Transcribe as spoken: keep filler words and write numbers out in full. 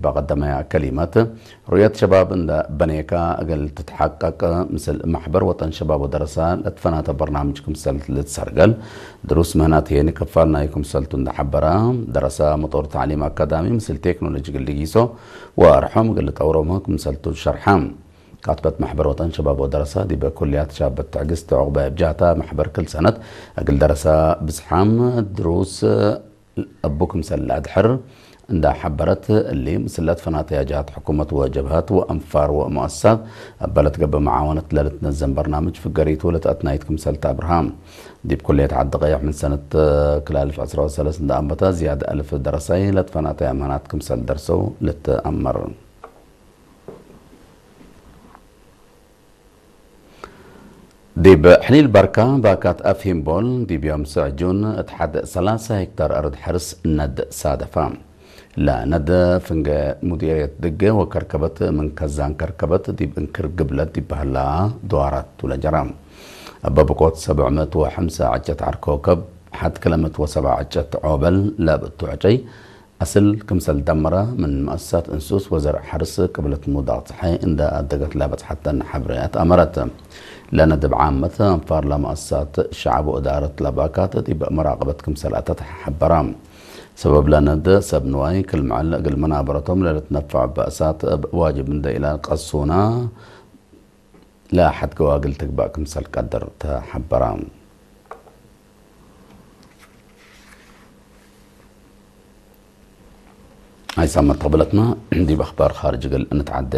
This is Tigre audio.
በቀደመያ ከሊመት፣ ሩእየት ሸባብ እንደ በኔካ እግል ትትሐቀቅ፣ ምስል መሕበር ወጠን ሸባብ ወደረሳ ለትፈናተ በርናምጅ ክምሰል ልትሰርገል፣ ድሩስ ምህናት ህዬ ክፋል ናዩ ክምሰልቱ እንደ ሐበራ፣ ደረሳ መጦር ተዕሊም አካዳሚ ምስል ቴክኖሎጂ እግል ልጊሶ ወአርሖም እግል ልጠውሮም ክምሰልቱ ሸርሐ። ካትበት መሕበር ወጠን ሸባብ ወደረሳ ዲበ ኩልያት ሻበት ትዕግስት ዑቅባይ እብ ጃህታ መሕበር ክል ሰነት እግል ደረሳ ብዝሓም ድሩስ እቡ ክምሰል ለአድሕር እንዳ ሐበረት፣ እሊ ምስል ለትፈናተያ ጀሃት ሕኩመት ወጀብሀት ወአንፋር ወመአሰሳት እበ ለትገብእ መዓወነት ለልትነዘም በርናምጅ ፍገሪቱ ለተአትናይት ክምሰል ተአብርሃ። ዲብ ኩልየት ዐዲ ቀየሕ ምን ሰነት ክል አልፍ ዕስራ ወሰለስ እንዳ አንበታ ዝያድ አልፍ ደረሳይ ለትፈናተያ ምህናት ክምሰል ደርሰው ልትአመር። ዲብ ሕሊል በርካ ባካት አፍሂምቦል፣ ዲብ ዮም ስዕ ጁን እት ሐድ ሰላሳ ሄክታር አርድ ሐርስ ነድ ሳደፋ። ለነድ ፍንገ ሙዲርየት ድገ ወከርከበት ምን ከዛን ከርከበት ዲብ እንክር ግብለት ዲብ በህላ ድዋራት ቱ ለጀራ። እበ ብቆት ሰብዕ ምእት ወሐምሳ ዕጨት ዐር ኮከብ፣ ሐድ ክለ ምእት ወሰብዓ ዕጨት ዖበል ለብእቱ ዕጨይ፣ አስል ክምሰል ደመረ ምን መአሰሳት እንሱስ ወዘርዕ ሐርስ ቅብለት ሙዳቅ ጸሓይ እንደ አደገት ለበጽሐተን ሐብሬያት አመረት። ለነድብ ዓመት አንፋር ለመአሰሳት ሸዐብ ወእዳረት ለባካት ዲብ መራቀበት ክምሰል አተት ሐበራ። ሰበብ ለነድ ሰብ ንዋይ ክል መዐል እግል መናበረቶም ለልትነፈዕ በእሳት እብ ዋጅብ እንደ ኢለቀሱና ለሐድ ገዋግል ትግባእ ክምሰል ቀድር ተሐበራ። አይ ሳምንት ቅብለትና ዲብ አኽባር ኻርጅ እግል እንትዓዴ።